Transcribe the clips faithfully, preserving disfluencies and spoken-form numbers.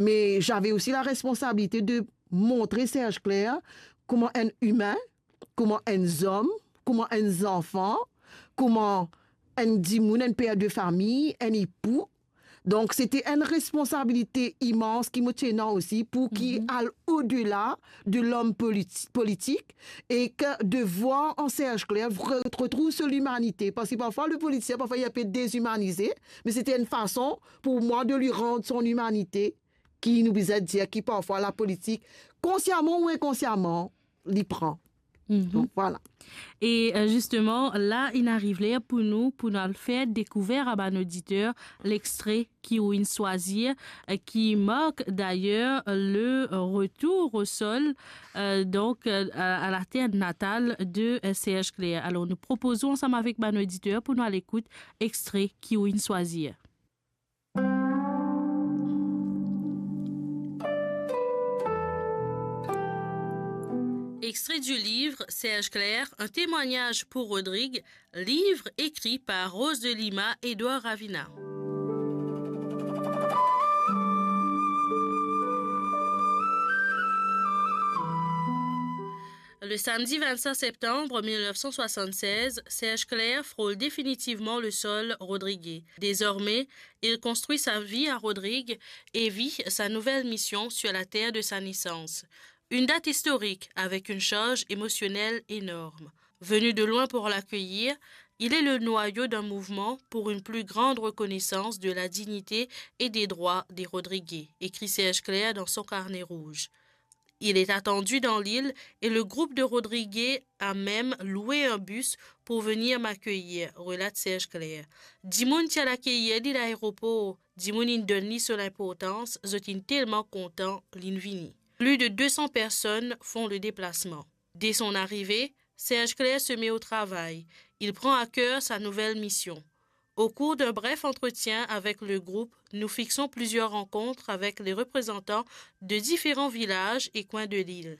mais j'avais aussi la responsabilité de montrer Serge Clair kouma enn imin, kouma enn zom, kouma enn zanfan, kouma enn dimoun, enn per de fami, enn epou. Donk, se ti enn responsabilite imans ki mo ti ena osi pou ki al odela de lom politi-, politik e ke de voir an Serge Clair re-, retrouv so limanite. Parski parfwa, le politisien, parfwa, li pe dezimanize, me se ti enn fason pou mwa de li rann son limanite ki nou bizin dir ki parfwa lapolitik, konsiaman ou inkonsiaman, li pran. Donk, vwala. E, euh, zisteman, la, inn ariv ler pou nou, pou nou al fer dekouver a bann oditer lextre ki ou inn swazir, euh, ki mark dayer le retour au sol, euh, donk, euh, a, a la ter natal de, euh, Serge Clair. Alor, nou propoz ou ansam avek bann oditer pou nou al ekout extre ki ou inn swazir. Extrait du livre Serge Clair, un témoignage pour Rodrigue, livre écrit par Rose de Lima et Édouard Ravina. Le samedi vingt-cinq septembre mille neuf cent soixante-seize, Serge Clair frôle définitivement le sol rodriguais. Désormais, il construit sa vie à Rodrigues et vit sa nouvelle mission sur la terre de sa naissance. Une date historique avec une charge émotionnelle énorme. Venu de loin pour l'accueillir, il est le noyau d'un mouvement pour une plus grande reconnaissance de la dignité et des droits des Rodriguais, écrit Serge Clair dans son carnet rouge. Il est attendu dans l'île et le groupe de Rodriguais a même loué un bus pour venir m'accueillir, relate Serge Clair. Dimoun ti al akeir li laeropor, dimoun inn donn li so linportans, zot inn telman kontan linn vini. Plus de deux cents personnes font le déplacement. Dès son arrivée, Serge Clair se met au travail. Il prend à cœur sa nouvelle mission. Au cours d'un bref entretien avec le groupe, nous fixons plusieurs rencontres avec les représentants de différents villages et coins de l'île.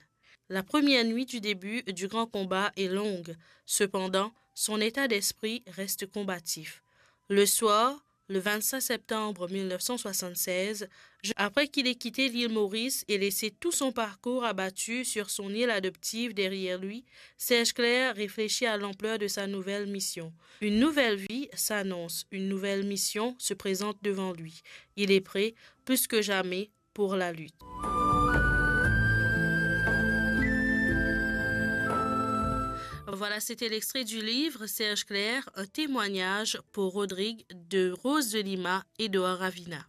La première nuit du début du grand combat est longue. Cependant, son état d'esprit reste combatif. Le soir, le vingt-cinq septembre mille neuf cent soixante-seize, je-, après qu'il ait quitté l'île Maurice et laissé tout son parcours abattu sur son île adoptive derrière lui, Serge Clair réfléchit à l'ampleur de sa nouvelle mission. Une nouvelle vie s'annonce, une nouvelle mission se présente devant lui. Il est prêt, plus que jamais, pour la lutte. Voilà, c'était l'extrait du livre Serge Clair, un témoignage pour Rodrigue de Rose de Lima et Édouard Ravina.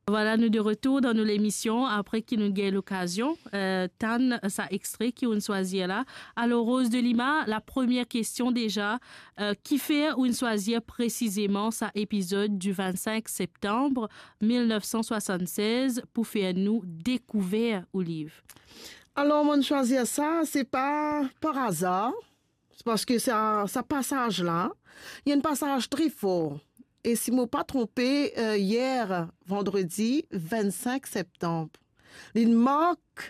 Vwala, nou de retour dan nou lemision apre ki nou gagn lokazion, euh, tann sa extre ki ou'nn swazir la. Alor, Rose de Lima, la premie kestion deza, euh, kifer ou'nn swazir presizeman sa epizod du vingt-cinq septembre mille neuf cent soixante-seize pou fer nou dekouver ou liv? Alor, mo'nn swazir sa, se pa par azar. Se parski sa, sa pasaz la, li enn pasaz tre for. E si mo pa tronpe, euh, yer, vandredi vingt-cinq septanm, li mark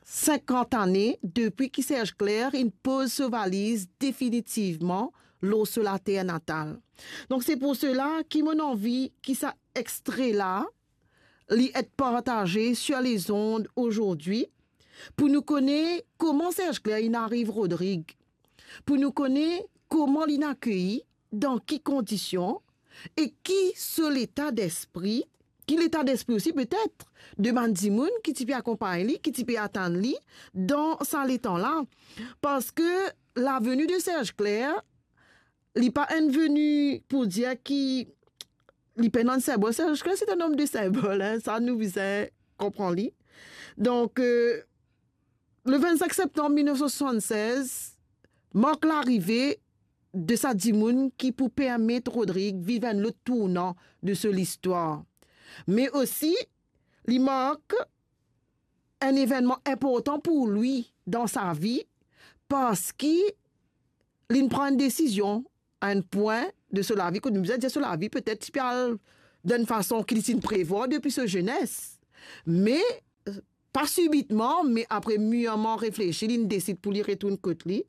sinkant ane depi ki Serge Clair inn poz so valiz definitivman lor so later natal. Donk, se pou sela ki mo'nn anvi ki sa extre la, li et partaze sur les ondes aujourd'hui, pou nou kone kouma Serge Clair inn ariv Rodrig, pou nou kone kouma li'nn akei, dan ki kondision, e ki so leta despri, ki leta despri osi petet de bann dimoun ki ti pe akonpagn li, ki ti pe atann li dan sa letan la. Parski la venue de Serge Clair, li pa enn veni pou dir ki li pena enn sinbol. Serge Clair, se enn om de sinbol, hein, sa nou bizin konpran li. Donk, euh, le vingt-cinq septembre mille neuf cent soixante-seize mark larive de sa dimoun ki pou permet Rodrig viv enn lot tournan de so listwar. Me osi, li mark enn evennman inportan pou li dan sa vi, parski li'nn pran enn desizion a enn pwin de so lavi, kot nou bizin dir so lavi petet ti pe al dan enn fason ki li ti'nn prevwar depi so zenes. Me, euh, pa sibitman, me apre mirman reflesi, li'nn desid pou li retourn kot li.